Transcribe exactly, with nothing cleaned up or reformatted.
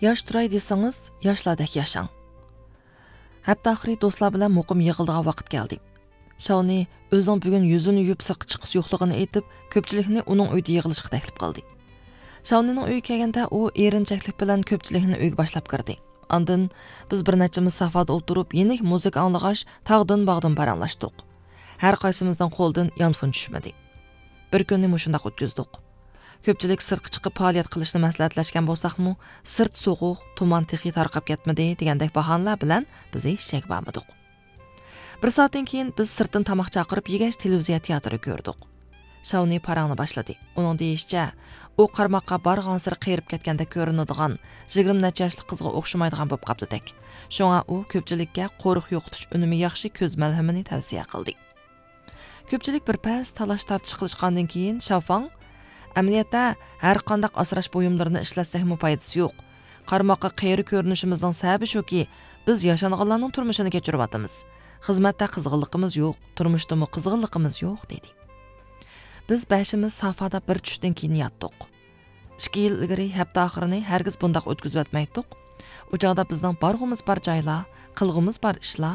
ياش تۇراي دېسىڭىز، ياشلاردەك ياشاڭ. ھەپتە ئاخىرى دوستلار بىلەن مۇقىم يىغىلىدىغان ۋاقىت كەلدى. شاۋنى ئۆزىنىڭ بۈگۈن يۈزىنى يۇيۇپ سىرتقا چىققۇسى يوقلۇقىنى ئېيتىپ، كۆپچىلىكنى ئۇنىڭ ئۆيىدە يىغىلىشقا تەكلىپ قىلدى. شاۋنىنىڭ ئۆيىگە كەلگەندە، ئۇ ئېرىنچەكلىك بىلەن كۆپچىلىكنى ئۆيگە باشلاپ كىردى. ئاندىن بىز بىر نەچچىمىز سافادا ئولتۇرۇپ، يېنىك مۇزىكا ئاڭلىغاچ، تاغدىن باغدىن پاراڭلاشتۇق. ھەر قايسىمىزنىڭ قولىدىن يانفون چۈشمىدى. بىر كۈننى مۇشۇنداق ئۆتكۈزدۇق. كۆپچىلىك سىرتقا چىقىپ پائالىيەت قىلىشنى مەسلىھەتلەشكەن بولساقمۇ، سىرت سوغۇق، تۇمان تېخى تارقاپ كەتمىدى دېگەندەك باھانىلەر بىلەن بىز ھېچ جايغا بارمىدۇق. بىر سائەتتىن كېيىن بىز سىرتتىن تاماق چاقىرىپ يېگەچ، تېلېۋىزىيە تىياتىرى كۆردۇق. شاۋنى پاراڭنى باشلىدى. ئۇنىڭ دېيىشىچە، ئۇ قارىماققا بارغانسېرى قېرىپ كەتكەندەك كۆرۈنىدىغان، يىگىرمە نەچچە ياشلىق قىزغا ئوخشىمايدىغان بولۇپ قاپتىدەك. شۇڭا ئۇ كۆپچىلىككە قورۇق يوقىتىش ئۈنۈمى ياخشى كۆز مەلھىمىنى تەۋسىيە قىلدى. كۆپچىلىك بىر پەس تالاش-تارتىش قىلىشقاندىن كېيىن، شاۋفاڭ، ئەمەلىيەتتە، ھەر قانداق ئاسراش بۇيۇملىرىنى ئىشلەتسەكمۇ پايدىسى يوق. قارىماققا قېرى كۆرۈنۈشىمىزنىڭ سەۋەبى شۇكى، بىز ياشانغانلارنىڭ تۇرمۇشىنى كەچۈرۈۋاتىمىز. خىزمەتتە قىزغىنلىقىمىز يوق، تۇرمۇشتىمۇ قىزغىنلىقىمىز يوق، دېدى. بىز بەشىمىز سافادا بىر چۈشتىن كېيىن ياتتۇق. ئىككى يىل ئىلگىرى ھەپتە ئاخىرىنى ھەرگىز بۇنداق ئۆتكۈزۈۋەتمەيتتۇق. ئۇ چاغدا بىزنىڭ بارغۇمىز بار جايلار، قىلغۇمىز بار ئىشلار،